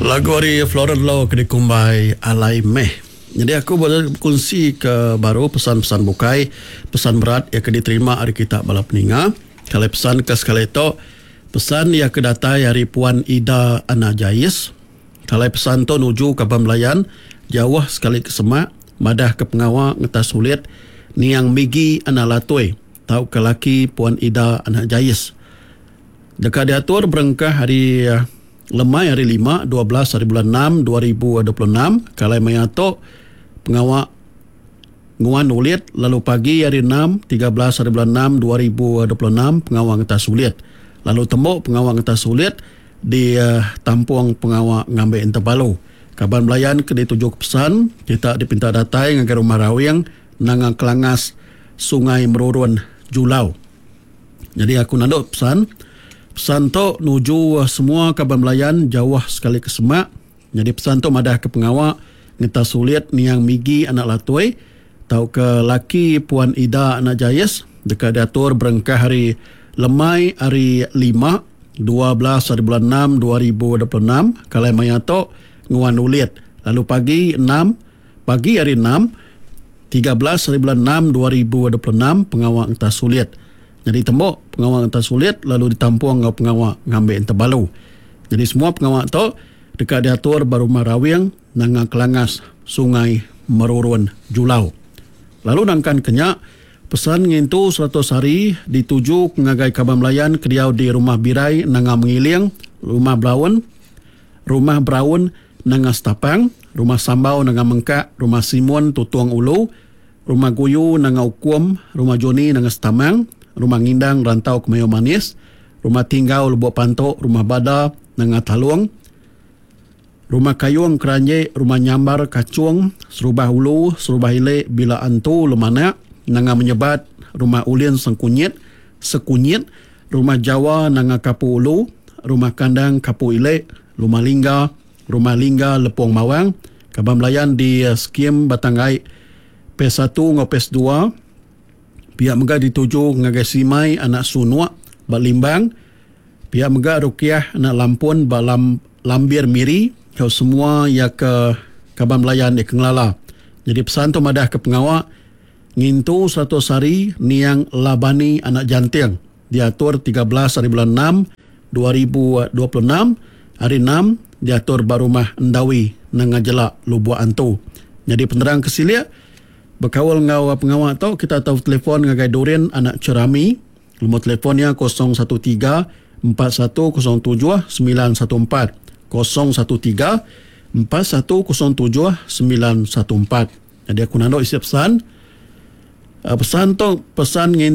Lagu ari Floren Lo ke dikumbai Alai Meh. Nyadi aku bekunsi ke baru pesan-pesan bukai, pesan berat iya ke diterima ari kita bala peninga. Kalai pesan ke sekali tu, pesan iya ke datai ari Puan Ida Anak Jais. Kalai pesan tu nuju kaban belayan jauh sekali ke semak madah ke pengawa ngetas ulit niang Migi Anak Latui tauka laki Puan Ida Anak Jais. Deka diatur berengkah ari lemai hari Lima, 12 haribulan enam 2026 ke alai maya tu pengawa nguan ulit lalu pagi hari Enam, 13 haribulan enam 2026 pengawa ngetas ulit lalu tembu pengawa ngetas ulit ditampung pengawa ngambi entebalu. Kaban belayan ke ditujuka pesan kita dipinta datai ngagai Rumah Rawing Nanga Kelangas, Sungai Merurun, Julau. Nyadi aku nandu pesan. Pesan tu nuju semua kaban belayan jauh sekali ke semak. Nyadi pesan tu madah ke pengawa ngetas ulit niang Migi anak Latoi tauka laki Puan Ida anak Jais deka diatur berengkah ari lemai hari Lima, 12 haribulan enam 2026 ke alai maya tu nguan ulit lalu pagi enam Pagi hari Enam, 13 haribulan Enam 2026 pengawa ngetas sulit nyadi tembu pengawa ngetas sulit lalu ditampung enggau pengawa ngambi entebalu. Nyadi semua pengawa tu deka diatur ba Rumah Rawing, Nanga Kelangas, Sungai Merurun, Julau. Lalu nangkan ke nya, pesan ngintu 100 hari dituju ngagai kaban belayan ke diau di Rumah Birai Nanga Mengiling, Rumah Belaun, Rumah Braun Nanga Stapang, Rumah Sambau Nanga Mengkak, Rumah Simun Tutong Ulu, Rumah Guyu Nanga Ukum, Rumah Joni Nanga Setamang, Rumah Ngindang Rantau Kemayo Manis, Rumah Tinggau Lubok Panto, Rumah Bada Nanga Talung, Rumah Kayung Keranjik, Rumah Nyambar Kachung, Serubah Ulu, Serubah Ili Bila Antu Lemanak, Nanga Menyebat, Rumah Ulin Sengkunyit, Sekunyit, Rumah Jawa Nanga Kapu Ulu, Rumah Kandang Kapu Ili, Rumah Lingga, Rumah Lingga Lepong Mawang, kaban belayan di Skim Batang Ai Phase satu enggau Phase dua, pia mega dituju ngagai Simai anak Sunuk ba Limbang, pia mega Rukiah anak Lampun ba Lambir Miri enggau semua iya ke kaban belayan iya ke ngelala. Nyadi pesan tu madahka pengawa Ngintu 100 hari niang Labani anak Janting diatur 13 haribulan enam 2026, hari Enam, diatur ba Rumah Endawi, Nanga Jelak, Lubok Antu. Nyadi penerang ke silik bekaul enggau pengawa tu kita tau betelefon ngagai Durin anak Cherami, lumur telefon iya 013 4107 914, 013 4107 914. Nyadi aku nandu isi pesan. Pesan tu pesan ngintu.